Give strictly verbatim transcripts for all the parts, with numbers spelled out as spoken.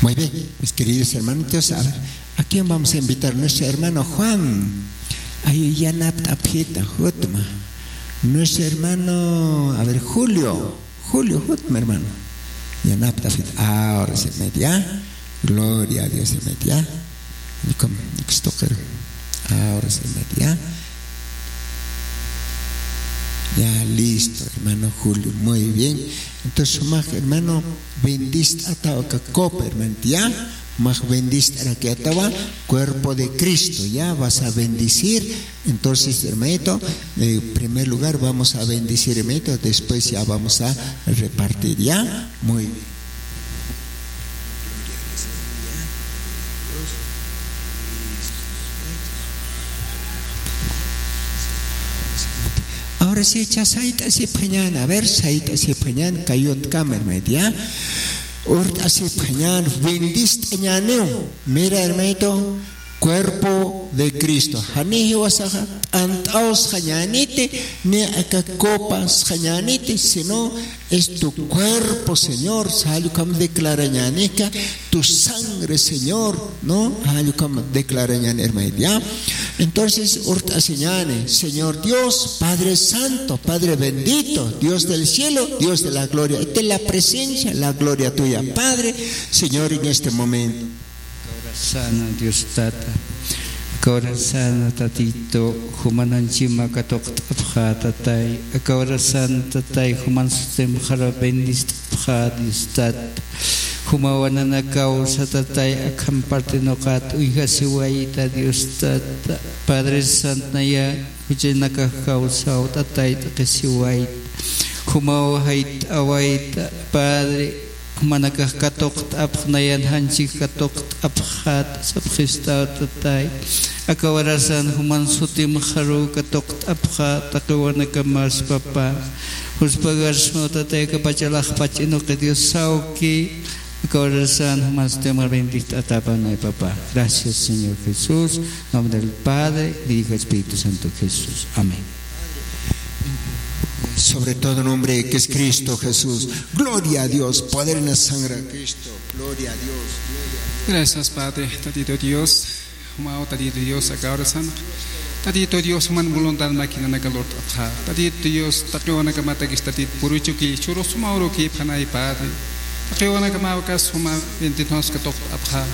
Muy bien, mis queridos hermanitos, a ver, ¿a quién vamos a invitar? Nuestro hermano Juan. Ay, yanapt'apxita, jutma. Nuestro hermano, a ver, Julio. Julio, jutma, hermano. Yanapt'apxita. Ahora sí, media. Gloria a Dios, media. Ahora sí, media. Ya, listo, hermano Julio. Muy bien. Entonces, sumax, hermano, bendist'atawa aka copa, hermanito, ¿ya? Sumax bendist'arakiwa cuerpo de Cristo, ¿ya? Vas a bendecir. Entonces, hermanito, en primer lugar vamos a bendecir, hermanito, después ya vamos a repartir, ¿ya? Muy bien. Ahora sí, cha sayt'asipxañän, a ver, sayt'asipxañän, kayuntkamer media. Urt'asipxañän, bendist'añäniw. Mira, hermanito, cuerpo de Cristo. Jani jiwasaxa t'ant'aw sxañäniti, ni aka copa sxañäniti, sino es tu cuerpo, Señor, sal ukham declarañänika, tu sangre, Señor, ¿no? Sal ukham declarañäni, hermanito, ¿ya? Entonces, urt'asiñäni, Señor Dios, Padre Santo, Padre Bendito, Dios del cielo, Dios de la gloria. Esta es la presencia, la gloria tuya, Padre, Señor, en este momento. Aka hora sana, Dios Tata. Aka hora sana, Tatito, jumananchima katuqt'apxä, Tatay. Aka hora sana, Tatay, juman sutimxaru bendist'apxä, Dios Tata. Jumawa nanakaw sa, Tatay, akham partinuqat uyjasiwayta, Dios Tata. Padre Santo, naya juchanakax kawsaw, Tatay, t'aqhisiwayta. Jumaw jayt'awayta, Padre. Jumanakax katuqt'apxi, nayan janchik katuqt'apxät sapxistaw, Tatay. Aka hora sana juman sutimxaru katuqt'apxä, taqiwanakamar, papá. Juspagar suma, Tatay, aka pachalax pach'inuqi, Dios sawki. Aka hora sana juman sutimxaru bendist'atäpxä, nay, papá. Gracias, Señor Jesús. Nombre del Padre, del Hijo, Espíritu Santo, Jesús. Amén. Sobre todo nombre que es Cristo Jesús. Gloria a Dios. Poder en la sangre de Cristo. Gloria a Dios. Gloria a Dios. Gracias, Padre. Tatito Dios. Jumaw, Tatito Dios, aka hora sana. Tatito Dios, juman voluntad makinanaka lurt'apxä. Tatito Dios, taqiwanakamatakis, Tatito, puruchuki, churu suma urukipxanay, Padre. Taqiwanakamaw aka suma bendito katuqt'apxä.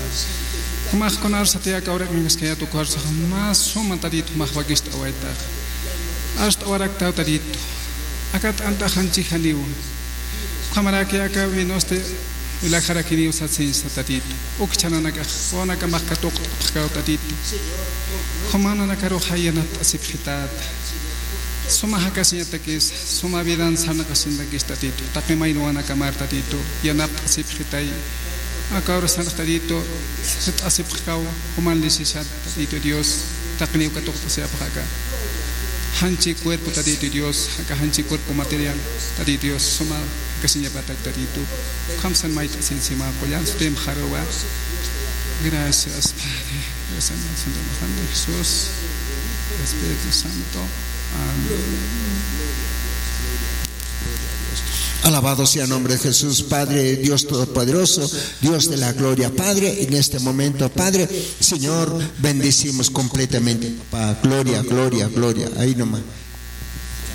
Jumax kunar sati aka hora q'añaskayät ukarsax más suma, Tatito, jumax wakist'awaytax. Arst'awaraktaw, Tatito. Aka t'antax janchik janiw. Ukhamaraki aka vinosti wilakxarakiniw sasinsa, Tatito. Uk chhananakax, wawanakamax katuqt'apxkaw, Tatito. Jumananakarux yanapt'asipxitäta. Suma jakasiñatakis, suma vidan sarnaqasiñatakis, Tatito. Taqi mayni wawanakamar, Tatito, yanapt'asipxitay. Aka hora sana, Tatito, sit'asipxkaw, juman lisisat, Tatito Dios, taqiniw katuqt'asipxä aka janchi cuerpo, Tatito Dios, aka janchi cuerpo material, Tatito Dios, suma jakasiñapatak, Tatito. Kamsan mayt'asiñasima, qullan sutimxaruwa. Gracias, Padre. Gracias, Santo Nombre de Jesús. Espíritu Santo. Amén. Alabado sea el nombre de Jesús, Padre, Dios Todopoderoso, Dios de la gloria. Padre, en este momento, Padre, Señor, bendecimos completamente, papá. Gloria, gloria, gloria. Ahí nomás.